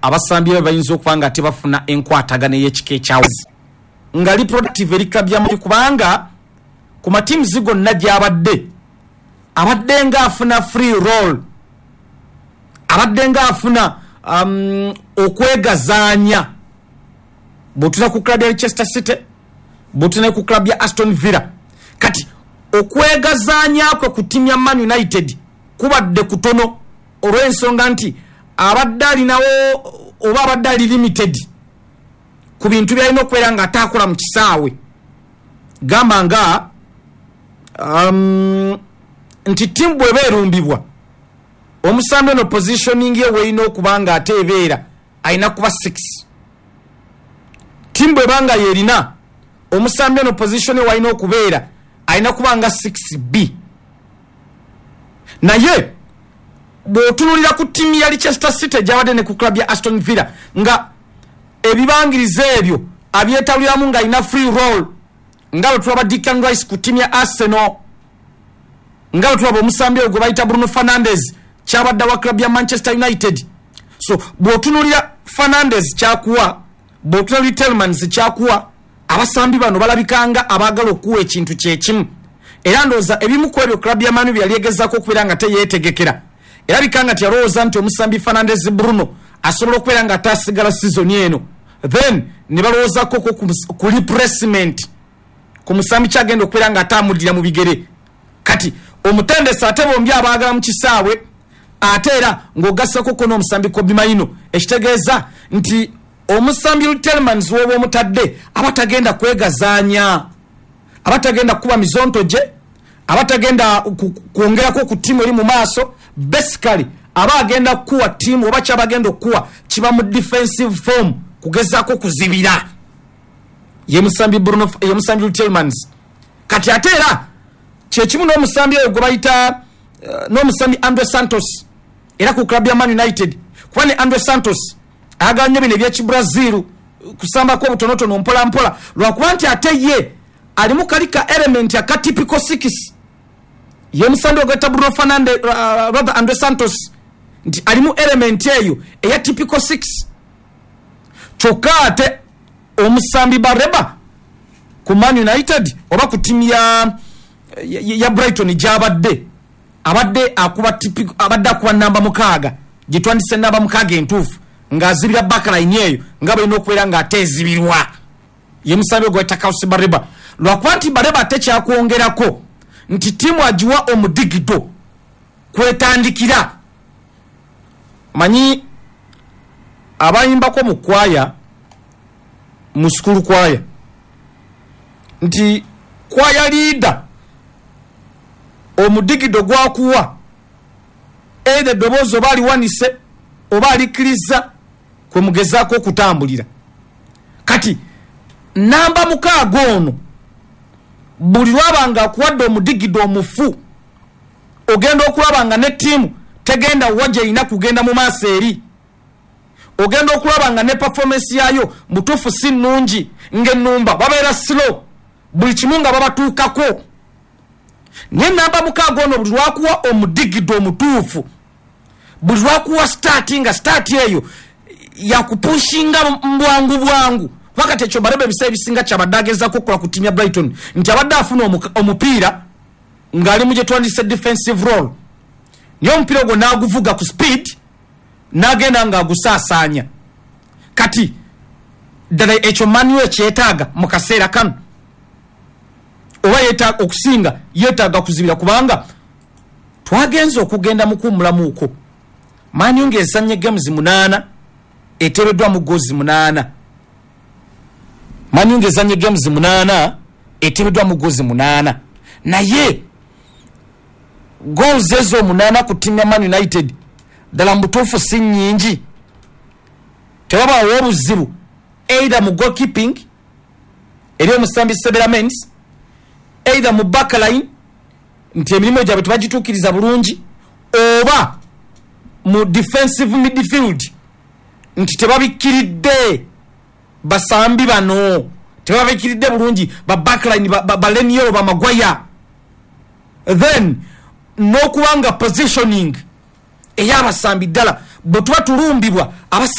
Abasambi be bayinza okuba nga tebafuna enkwatagana ey'ekika ekyawazi nga li productive eri club ya Man U, kubanga ku mateams gonna gy'abadde, abadde nga afuna free role, abadde nga afuna okwegazaanya. Bw'otuna ku club ya Leicester City, bw'otuna ku club ya Aston Villa, kati okwegazaanya kwe ku ttiimu ya Man United kubadde kutono, olw'ensonga nti abadde alinawo oba abadde ali limited ku bintu byalina okubeera nga ate akola mu kisaawe. Gamba nga nti ttiimu bw'eba erumbibwa, omusambi ono positioning ye weerina okuba nga ate ebeera alina kuba 6. Ttiimu bw'eba nga yerina omusambi ono, position ye walina okubeera alina kuba nga 6B. Naye bw'otunulira ku ttiimu ya Leicester City gyabadde ne ku club ya Aston Villa, nga ebibangirizo ebyo abyetaluliramu ng'alina free role, nga bwe tulaba Declan Rice ku ttiimu ya Arsenal, nga bwe tulaba omusambi oyo gwe bayita Bruno Fernandes kyabadde wa club ya Manchester United. So bw'otunulira Fernandes kyakuwa, bw'otunulira Tielemans kyakuwa, abasambi bano balabikanga abaagala okuwa ekintu kyekimu. Era ndowooza ebimu ku ebyo club ya Manu bye yali egezaako okubeera nga teyeetegekera, erabika nga teyalowooza nti omusambi Fernandes Bruno asobola okubeera nga ataasigala sizoni eno. Then ne balowoozako ku replacement ku musambi kyagenda okubeera nga ate amuddira mu bigere. Kati omutendesi ate bombi abaagala mu kisaawe, ate era ng'ogassako ko n'omusambi Kobbie Mainoo, ekitegeeza nti omusambi Tielemans w'oba omutadde aba tagenda kwegazaanya, aba tagenda kukuba mizonto gye, aba tagenda kwongerako ku ttiimu eri mu maaso. Basically aba agenda kukuwa ttiimu, oba kyaba agenda okukuwa kiba mu defensive form, kugezaako kuzibira. Ye musambi Bruno, ye musambi Tielemans. Kati ate era kyekimu n'omusambi oyo gwe bayita n'omusambi Andre Santos, era ku club ya Man United, kuba ne Andre Santos ayagala nnyo bino ebyekibrazil, kusambako obutonotono mpola mpola, lwakuba nti ate ye alimu kali ka element aka typical six. Ye musambi ogweta Bruno Fernandes, rather Andre Santos, nti alimu element eyo eya typical six. Kyokka ate omusambi Baleba ku Man United oba ku ttiimu ya Brighton gyabadde, abadde akuba abadde akuba namba 6, gyetwandise namba 6 entuufu, ng'azibira backline eyo nga balina okubeera ng'ate ezibirwa. Ye musambi ogweta Carlos Baleba. Lwakuba nti Baleba ate kyakwongerako nti ttiimu agiwa omudigido kwetandikira. Manyi abayimbako mu kwaya, mu school kwaya, nti kwaya leader omudigido gwakuwa, either eddoboozi oba aliwanise oba alikkiriza, kwe mugezaako okutambulira. Kati namba 6 ono buli lwaba nga akuwadde omudigido omufu, ogenda okulaba nga ne ttiimu tegenda wa gyerina kugenda mu maaso eri. Ogenda okulaba nga ne performance yaayo mutuufu si nnungi, ng'ennumba babeera slow, buli kimu nga babatuukako. Naye namba 6 ono buli lwakuwa omudigido omutuufu, buli lwakuwa start, nga start eyo yakupushinga bwangu bwangu. Kuba kati ekyo Baleba ebiseera ebisinga kyabadde agezaako okukola ku ttiimu ya Brighton, nti abadde afuna omupiira ng'ali mu gye twandise defensive role, naye omupiira ogwo n'aguvuga ku speed n'agenda ng'agusaasaanya. Kati ddala ekyo Man U ekyetaaga mu kaseera kano, oba okusinga yeetaaga kuzibira? Kubanga twagenze okugenda mu kuwummulamuuko, Man U ng'ezannye games 8, eteebeddwamu goals 8. Man U ng'ezannye games 8, eteebeddwamu goals 8, naye goals ezo 8 ku ttiimu ya Man United ddala mu butuufu si nnyingi. Tewabaawo obuzibu either mu goalkeeping eri omusambi Senne Lammens, either mu backline nti emirimu gyabwe tebagituukiriza bulungi, oba mu defensive midfield nti tebabikkiridde basambi bano, tebabikkiridde bulungi ba backline, ba Leny Yoro, ba Maguire. Then n'okuba nga positioning ey'abasambi ddala bwe tuba tulumbibwa abasambi